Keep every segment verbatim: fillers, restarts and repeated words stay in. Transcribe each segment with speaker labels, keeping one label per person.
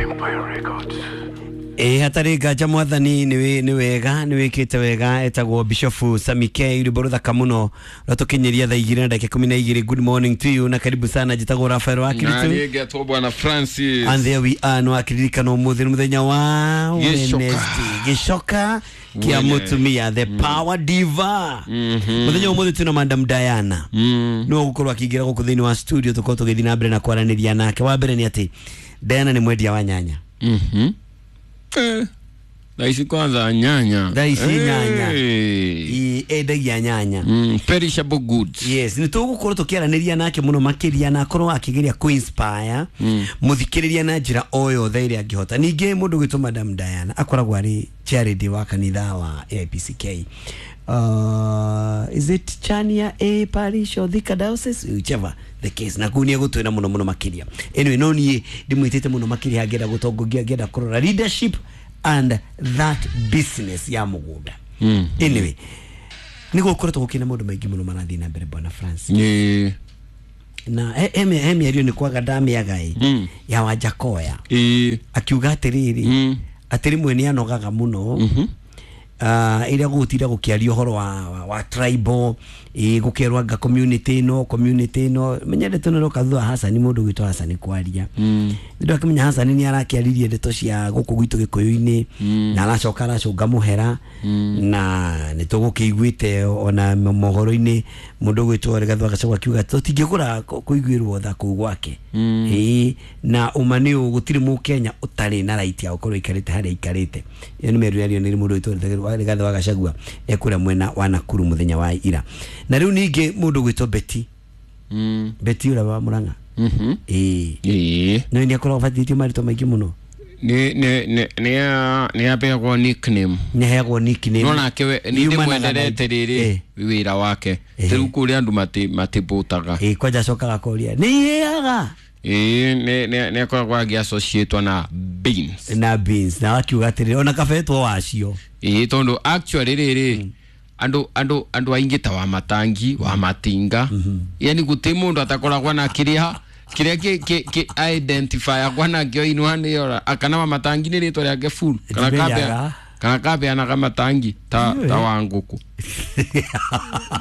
Speaker 1: Empire Records.
Speaker 2: Ĩ hatarĩ nganja mwathani nĩ wega nĩ wĩkĩte wega. Etagwo Bishop Sammy K, rwĩmbo rũthaka mũno rwatũkinyĩria thaa igĩrĩ na ndagĩka ikũmi na igĩrĩ. Good morning to you na karibu sana. Njĩtagwo Rafael wa
Speaker 3: Na
Speaker 2: Kiritu
Speaker 3: niĩ ngetwo Bwana Francis.
Speaker 2: And there we are. No akiririkana ũmũthĩ nĩ mũthenya wa
Speaker 3: Gĩcoka.
Speaker 2: Wednesday, gĩcoka kĩa
Speaker 3: Wene.
Speaker 2: mũtumia, the power diva. Mũthenya wa ũmũthĩ twĩna Madam Diana,
Speaker 3: Mm.
Speaker 2: nĩwe ũgũkorwo akĩingĩra gũkũ thĩinĩ wa studio, tũkorwo tũgĩthiĩ na mbere na kwaranĩria nake. Wa mbere nĩ atĩ Diana nĩ mwendia wa nyanya.
Speaker 3: Mhm. Eh. Thaa ici kwanza nyanya.
Speaker 2: Thaa ici nyanya.
Speaker 3: Eh.
Speaker 2: Ĩ, endagia nyanya.
Speaker 3: Mm, perishable goods.
Speaker 2: Yes, nĩ tũgũkorwo tũkĩaranĩria nake mũno makĩria na akorwo akĩgeria kũ-inspire mũthikĩrĩria na njĩra o yothe ĩrĩa angĩhota. Ningĩ mũndũ gwĩtwo Madam Diana akoragwo arĩ charity wa kanitha wa A I P C K, uh, is it Chania A Parish or Thika Diocese, whichever the case, na kũu nĩ egũtwĩra mũno mũno makĩria. Anyway, no niĩ ndĩmwĩtĩte mũno makĩria angĩenda gũtongoria, angĩenda kũrora leadership and that business ya mũgũnda.
Speaker 3: Mm.
Speaker 2: Anyway, nĩ gũkoretwo gũkĩna maũndũ maingĩ mũno marathiĩ na mbere, Bwana Francis.
Speaker 3: Ĩ.
Speaker 2: Na he he he mĩario nĩ kwaga ndamĩaga ĩ
Speaker 3: Mm.
Speaker 2: ya Wanjakoya,
Speaker 3: Ĩ.
Speaker 2: akiuga atĩrĩrĩ,
Speaker 3: Mm.
Speaker 2: atĩ rĩmwe nĩ anogaga mũno
Speaker 3: Mhm.
Speaker 2: uh, ĩrĩa gũgũtinda gũkĩaria ũhoro wa, wa, wa tribal, ĩ gũkerwo anga community ĩno, community ĩno. Menya ndeto ĩno ĩroka thutha wa Hasani, mũndũ gwĩtwo Hasani kwaria.
Speaker 3: Mm.
Speaker 2: Nĩ ndakĩmenya Hasani nĩ arakĩaririe ndeto cia gũkũ gwitũ gĩkũyũ-inĩ na aracoka aracũnga mũhera, na nĩ tũgũkĩiguĩte ona mohoro-inĩ mũndũ gwĩtwo Rigathĩ wa Gachagua akiuga tũtingĩgũra kũ- kũiguĩrwo tha kũu gwake. Ĩĩ, na ũma nĩ ũũ, gũtirĩ mũkenya ũtarĩ na right ya gũkorwo aikarĩte harĩa aikarĩte. Ĩyo nĩ mĩario yario nĩ mũndũ gwĩtwo Rigathĩ wa Gachagua ekũrĩa mwena wa Nakuru mũthenya wa ira. Na rĩu ningĩ mũndũ gwĩtwo Betty,
Speaker 3: Mm.
Speaker 2: Betty ũrĩa wa Murang'a,
Speaker 3: Mhm.
Speaker 2: ĩĩ,
Speaker 3: Ĩ.
Speaker 2: no nĩ akoragwo abatithĩtio marĩtwa maingĩ mũno.
Speaker 3: Nĩ nĩ nĩ nĩ nĩ apeagwo nickname.
Speaker 2: Nĩ aheagwo nickname.
Speaker 3: No nake we nĩ
Speaker 2: Yumanaga na-
Speaker 3: ndĩmwenderete rĩrĩ
Speaker 2: Eh.
Speaker 3: wĩra wake.
Speaker 2: Eh.
Speaker 3: Rĩu kũrĩa andũ mati matibũtaga.
Speaker 2: Ĩ, kwanja acokaga akoria nĩ ihĩaga.
Speaker 3: Ĩ, nĩ nĩ nĩ akoragwo agĩassociatwo na beans.
Speaker 2: Na beans, na akiuga atĩrĩrĩ, ona kabetwo wacio.
Speaker 3: Ĩ, tondũ actually rĩrĩ andũ andũ andũ aingĩ ta wa matangi wa matinga, yani gũtirĩ mũndũ atakoragwo na kĩrĩa kĩrĩa kĩ kĩ kĩ identify akwa nakĩo inwa nĩyo, kana wa matangi nĩ rĩtwa rĩake full, kana
Speaker 2: Ndimenyaga.
Speaker 3: kapea kana kapeanaga matangi ta
Speaker 2: Ndiũĩ.
Speaker 3: ta wa ngũkũ,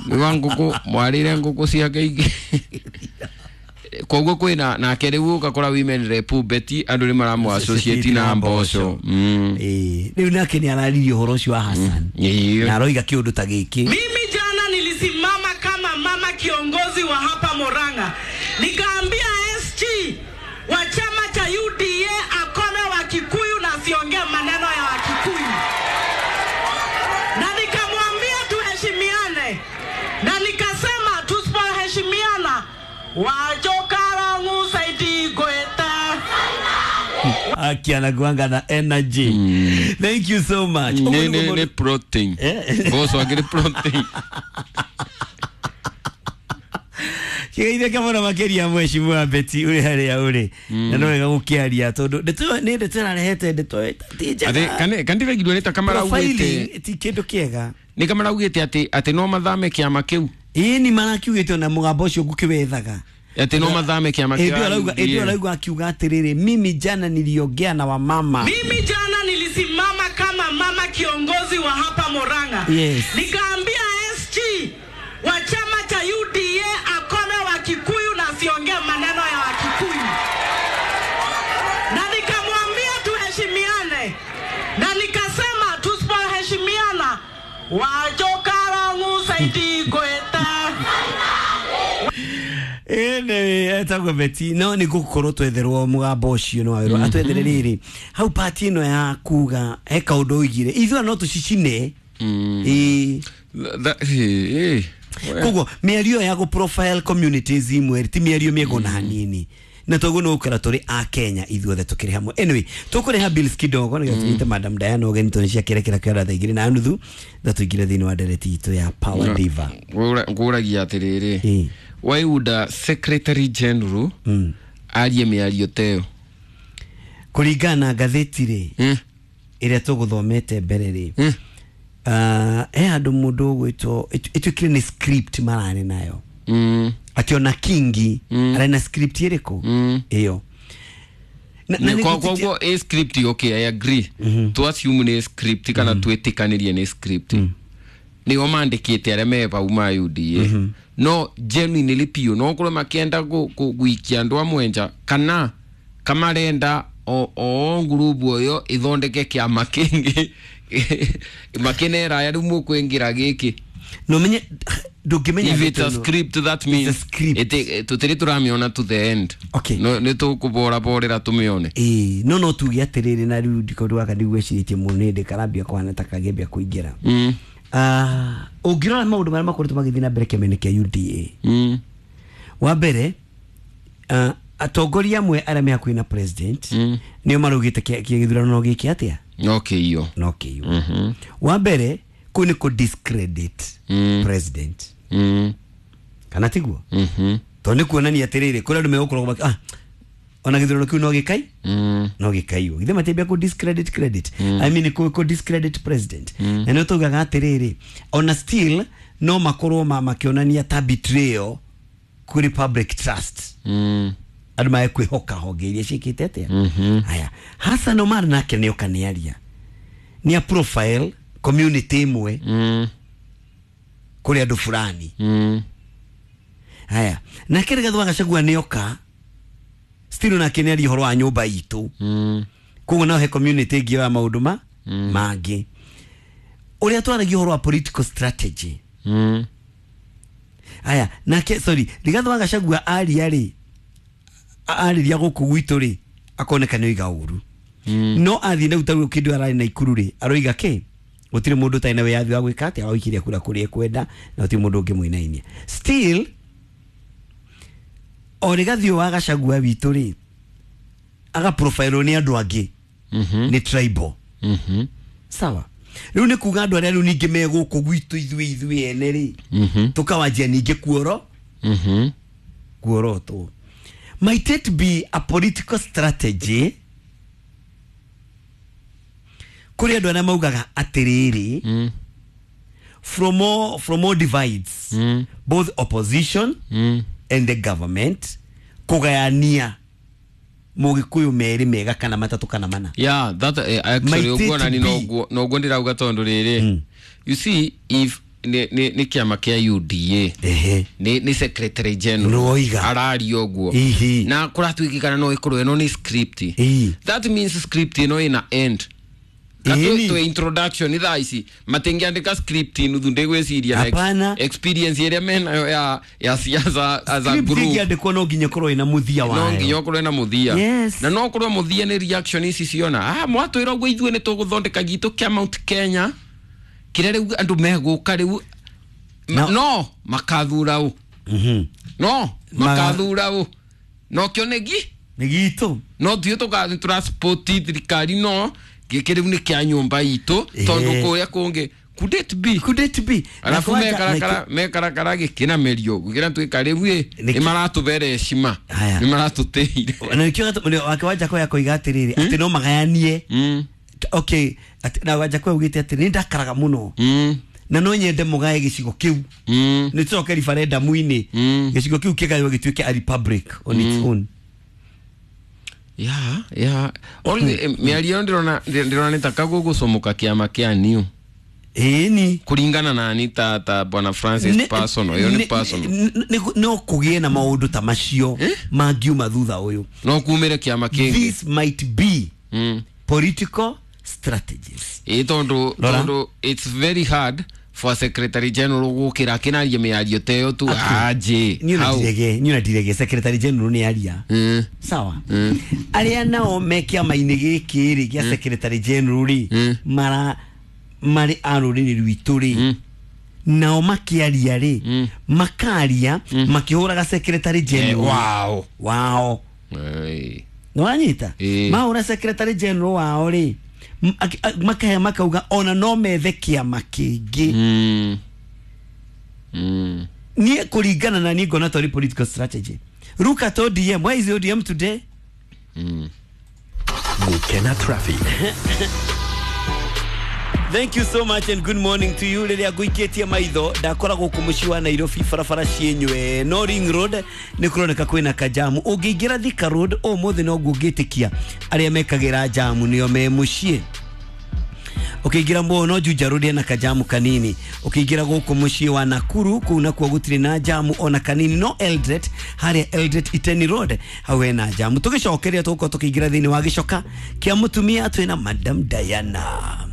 Speaker 3: nĩ wa ngũkũ mwarĩre ngũkũ ciake ingĩ. Koguo kwĩna nake rĩu ũgakora women rep Betty, andũ nĩ maramũ associate na mboco. Mm.
Speaker 2: Ĩ, rĩu nake nĩ araririe ũhoro ũcio wa Hassan
Speaker 3: Ĩĩ.
Speaker 2: na aroiga kĩũndũ ta gĩkĩ.
Speaker 4: Mimi jana nilisimama kama mama kiongozi wa hapa Murang'a, nikaambia S G wa chama cha U D A akome wa Kikuyu na asiongee maneno ya Wakikuyu, na nikamwambia tuheshimiane, na nikasema tusipoheshimiana wajokarangu saidi gweta.
Speaker 2: Aki anakuanga na energy. Thank you so much.
Speaker 3: Nĩ
Speaker 2: Ũguo
Speaker 3: nĩ
Speaker 2: nĩguo
Speaker 3: nĩ
Speaker 2: mũndũ-
Speaker 3: protein.
Speaker 2: Eh.
Speaker 3: Mboco akĩrĩ protein.
Speaker 2: Kĩgeithĩke mũno makĩria, mheshimiwa Betty, ũrĩ harĩa ũrĩ, na no wega gũkĩaria tondũ ndeto ĩyo nĩ ndeto ĩrarehete ndeto ti njega.
Speaker 3: Atĩ kane kandiragirwo nĩ ta kamaraugĩte
Speaker 2: Profiling ti kĩndũ kĩega.
Speaker 3: Nĩ kamaraugĩte atĩ atĩ no mathame kĩama kĩu.
Speaker 2: Ĩĩ, ni marakiugĩte ona mũgambo ũcio ngũkĩwethaga.
Speaker 3: Atĩ no mathame kĩama kĩa
Speaker 2: Ĩndĩ arauga, ĩndĩ
Speaker 3: U D A.
Speaker 2: arauga akiuga atĩrĩrĩ, mimi jana niliongea na wamama.
Speaker 4: Mimi jana nilisimama kama mama kiongozi wa hapa Murang'a.
Speaker 2: Yes.
Speaker 4: Nikaambia S G wa chama cha U D A akome wa Kikuyu na asiongee maneno ya Wakikuyu, na nikamwambia tuheshimiane, na nikasema tusipoheshimiana wajokarangu saidi gweta.
Speaker 2: Ĩnĩ etagwo Betty, no nĩ gũkorwo twetherwo mũgambo ũcio, nĩ wawĩrwo atwethere rĩrĩ hau pati ĩno ya kuga he kaũndũ oigire ithuĩ no tũcicine. Ĩĩ.
Speaker 3: Tha- ĩ, ĩ.
Speaker 2: Koguo mĩario ya gũ profile communities imwe ti mĩario mĩega ona hanini, na toguo nĩ gũkora tũrĩ a Kenya ithuothe tũkĩrĩ hamwe. Anyway, tũkũrĩha bills kidogo nĩgetha tũnyite Madam Diana ũgeni tondũ ciakĩrekera kĩara thaa igĩrĩ na nuthu tha tũingĩre thĩinĩ wa ndereti itũ ya Power Diva.
Speaker 3: Ngũra- ngũragia atĩrĩrĩ,
Speaker 2: Ĩ.
Speaker 3: why would a secretary general
Speaker 2: Mm.
Speaker 3: arie mĩario ta ĩyo?
Speaker 2: Kũringana na ngathĩti rĩ,
Speaker 3: Mm.
Speaker 2: ĩrĩa tũgũthomete mbere rĩ,
Speaker 3: Mm.
Speaker 2: uh, he handũ mũndũ ũgwĩtwo ĩtuĩkire nĩ script mararĩ nayo,
Speaker 3: Mm.
Speaker 2: atĩ ona Kingi
Speaker 3: Mm.
Speaker 2: arĩ na script ĩrĩkũ
Speaker 3: Mm.
Speaker 2: ĩyo.
Speaker 3: Koguo a script, okay, I agree. To assume nĩ script kana twĩtĩkanĩrie nĩ script, nĩo mandĩkĩte arĩa me vau ma U D A, no genuinely piũ no korwo makĩenda gũikia andũ amwe nja kana kamarenda o o ngurubu ĩyo ĩthondeke kĩama kĩngĩ makinera rĩu mũkũingĩra gĩkĩ.
Speaker 2: No menye ndũngĩmenya.
Speaker 3: If it's a script, that means tutiri turamiona to the end.
Speaker 2: Okay.
Speaker 3: No nĩ tũkũboraborera tũmĩone.
Speaker 2: Ĩĩ, no no tuge atĩrĩrĩ, na rĩu ndikondũ waka ndigwĩcirĩtie mũno nĩ karambia kũhana ta kagĩambia kũingĩra.
Speaker 3: mm.
Speaker 2: Ah, ũngĩrora maũndũ marĩa makoretwo magĩthiĩ na mbere kĩama-inĩ kĩa U D A,
Speaker 3: mm.
Speaker 2: wa mbere, uh, atongoria amwe arĩa me hakuhĩ na president
Speaker 3: mm.
Speaker 2: nĩo maraugĩte gĩthurano no gĩke atĩa?
Speaker 3: No kĩiywo.
Speaker 2: No kĩiywo.
Speaker 3: mm -hmm.
Speaker 2: Wa mbere kũu nĩ kũ discredit
Speaker 3: mm.
Speaker 2: president,
Speaker 3: mm.
Speaker 2: kana tiguo?
Speaker 3: mm -hmm.
Speaker 2: Tondũ nĩ kuonania atĩrĩrĩ, kũrĩ andũ megũkorwo ah, ona gĩthurano kĩu no gĩkai
Speaker 3: mm.
Speaker 2: no gĩkaiywo, githĩ matiambia kũ discredit credit,
Speaker 3: mm.
Speaker 2: I mean kũ kũ discredit president.
Speaker 3: mm.
Speaker 2: Na nĩ taugaga atĩrĩrĩ, ona still no makorwo ma makĩonania ta betrayal kũrĩ public trust,
Speaker 3: mm.
Speaker 2: andũ mae kwĩhoka honge iria ciĩkĩte atĩa.
Speaker 3: mm -hmm.
Speaker 2: Haya, Hassan Omar nake nĩoka nĩaria nĩ a profile community ĩmwe
Speaker 3: mm.
Speaker 2: kũrĩ andũ fulani.
Speaker 3: mm.
Speaker 2: Haya, nake Rigathi wa Gachagua nĩoka still nake nĩaria ũhoro wa nyũmba itũ.
Speaker 3: mm.
Speaker 2: Koguo no he community ĩngĩ ya maũndũ ma
Speaker 3: mm.
Speaker 2: mangĩ ũrĩa twaragia ũhoro wa political strategy.
Speaker 3: mm.
Speaker 2: Haya, nake, sorry, Rigathi wa Gachagua aria rĩ, arĩria gũkũ gwitũ rĩ, akoneka nĩ oiga ũru.
Speaker 3: mm.
Speaker 2: No athiĩ na utaru kĩndũ ararĩ na Ikuru rĩ, aroiga kĩ gũtirĩ mũndũ ũtarĩ na wĩyathi wa gwĩka atĩa, wa gũikĩria kura kũrĩa ekwenda, na gũtirĩ mũndũ ũngĩmũinainia. Still o Rigathi wa Gachagua witũ rĩ, aga profile nĩ andũ angĩ,
Speaker 3: mm -hmm.
Speaker 2: nĩ tribal.
Speaker 3: mm -hmm.
Speaker 2: Sawa, rĩu nĩ kuga andũ arĩa rĩu ningĩ me gũkũ gwitũ ithuĩ ithuĩ ene rĩ,
Speaker 3: mm -hmm.
Speaker 2: tũkawanjia ningĩ kuoro
Speaker 3: mm -hmm.
Speaker 2: kuorotwo. Might it be a political strategy kũrĩ andũ arĩa maugaga atĩrĩrĩ,
Speaker 3: mm.
Speaker 2: from all, from all divides,
Speaker 3: mm.
Speaker 2: both opposition
Speaker 3: mm.
Speaker 2: and the government, kũgayania mũgĩkũyũ merĩ mega kana matatũ kana mana?
Speaker 3: Yeah, that uh, actually
Speaker 2: Might
Speaker 3: ũguo
Speaker 2: it
Speaker 3: nani
Speaker 2: be?
Speaker 3: noguo noguo ndĩrauga tondũ rĩrĩ,
Speaker 2: Mm.
Speaker 3: you see, if nĩ nĩ nĩ kĩama kĩa U D A,
Speaker 2: Ehe.
Speaker 3: nĩ nĩ secretary general
Speaker 2: Nĩwoiga.
Speaker 3: araria ũguo
Speaker 2: Ihi.
Speaker 3: na kũratuĩkĩkana no ĩkorwo ĩno nĩ script,
Speaker 2: Ii.
Speaker 3: that means script ĩno ĩna end.
Speaker 2: Ĩni.
Speaker 3: Katwe introduction thaa ici matingĩandĩka script nuthu, ndĩgwĩciria na ex-
Speaker 2: Hapana.
Speaker 3: experience ĩrĩa menayo ya ya siasa as a
Speaker 2: Script
Speaker 3: group.
Speaker 2: ĩngĩandĩkwo no nginya ĩkorwo ĩna mũthia
Speaker 3: No
Speaker 2: wayo.
Speaker 3: nginya ũkorwo na mũthia.
Speaker 2: Yes.
Speaker 3: Na no ũkorwo mũthia nĩ reaction ici ciona ah mwatwĩra ũguo, ithuĩ nĩ tũgũthondeka gitũ kĩa Mount Kenya kĩrĩa rĩu andũ megũka rĩu
Speaker 2: No.
Speaker 3: no makathura ũ,
Speaker 2: Mhm.
Speaker 3: no
Speaker 2: Maga-
Speaker 3: makathura ũ no kĩoneki
Speaker 2: nĩ gitũ.
Speaker 3: No tuĩ tũrasupport thirikari, no gĩkĩ rĩu nĩ kĩa nyũmba itũ tondũ
Speaker 2: Ĩĩ.
Speaker 3: kũrĩa kũngĩ, could it be?
Speaker 2: Could it be?
Speaker 3: Arabu
Speaker 2: Na kwanja-
Speaker 3: mekarakara mekarakara gĩkĩnamerio gũkĩra twĩka rĩu ĩ
Speaker 2: Nĩkĩ-
Speaker 3: nĩ maratũbere heshima,
Speaker 2: Haya.
Speaker 3: nĩ maratũtĩire.
Speaker 2: Na nĩkĩo gatũ- wake Wanjakũ akoiga atĩrĩrĩ atĩ no magayanie.
Speaker 3: Mm,
Speaker 2: Okay, atĩ- na Wanjakũ augĩte atĩ nĩ ndakaraga mũno
Speaker 3: mm,
Speaker 2: na no nyende mũgae gĩcigo kĩu,
Speaker 3: mm,
Speaker 2: nĩ tũcoke referendum-inĩ,
Speaker 3: Mm.
Speaker 2: gĩcigo kĩu kĩgaywo gĩtuĩke a republic on its own.
Speaker 3: yeah yeah Only, eh, mĩario ĩyo ndĩrona ndĩrona nĩ ta kagũgũcomoka kĩama kĩa new
Speaker 2: Ĩni.
Speaker 3: Kũringana nani ta ta bwana Francis, personal, ĩyo nĩ personal.
Speaker 2: No kũgĩe na maũndũ ta macio mangiuma thutha ũyũ.
Speaker 3: No kumĩre kĩama kĩngĩ.
Speaker 2: This might be
Speaker 3: Mm.
Speaker 2: political strategies.
Speaker 3: Ĩ tondũ
Speaker 2: Rora.
Speaker 3: tondũ it's very hard for a secretary general gũkĩra akĩnaria mĩario ta ĩyo tu aje.
Speaker 2: Niĩ ona
Speaker 3: How?
Speaker 2: ndirege, niĩ ona ndirege secretary general nĩ aria.
Speaker 3: Mm.
Speaker 2: Sawa, arĩa nao me kĩama-inĩ gĩkĩ rĩ gĩa secretary general rĩ,
Speaker 3: Mm.
Speaker 2: mara marĩ a rũrĩrĩ rwitũ rĩ,
Speaker 3: Mm.
Speaker 2: nao makĩaria rĩ,
Speaker 3: Mm.
Speaker 2: makaria makĩhũraga secretary
Speaker 3: Eh,
Speaker 2: general
Speaker 3: wow.
Speaker 2: wao.
Speaker 3: Ĩĩ.
Speaker 2: Nĩwanyita?
Speaker 3: Ĩĩ.
Speaker 2: Mahũra secretary general wao rĩ, m- aki- a- makahe makauga ona no methe kĩama kĩngĩ.
Speaker 3: Mm. Mm.
Speaker 2: Niĩ kũringana na niĩ ngona tarĩ political strategy. Look at O D M. Where is O D M today?
Speaker 3: Mm.
Speaker 1: Gukena Traffic.
Speaker 2: Thank you so much and good morning to you. Rĩrĩa ngũikĩtie maitho ndakora gũkũ mũciĩ wa Nairobi barabara ciĩnywe no Ring Road nĩ kũroneka kwĩna kajamu. Ũngĩingĩra Thika Road ũmũthĩ noguo ngĩtĩkia arĩa mekagĩra jamu nĩo me mũciĩ. Ũkĩingĩra mũno Juja Road ena kajamu kanini. Ũkĩingĩra gũkũ mũciĩ wa Nakuru kũu nakuo gũtirĩ na jamu ona kanini, no Eldoret harĩa Eldoret Iteni Road hau hena jamu. Tũgĩcokeria tũgũkorwo tũkĩingĩra thĩinĩ wa gĩcoka kĩa mũtumia twĩna Madam Diana.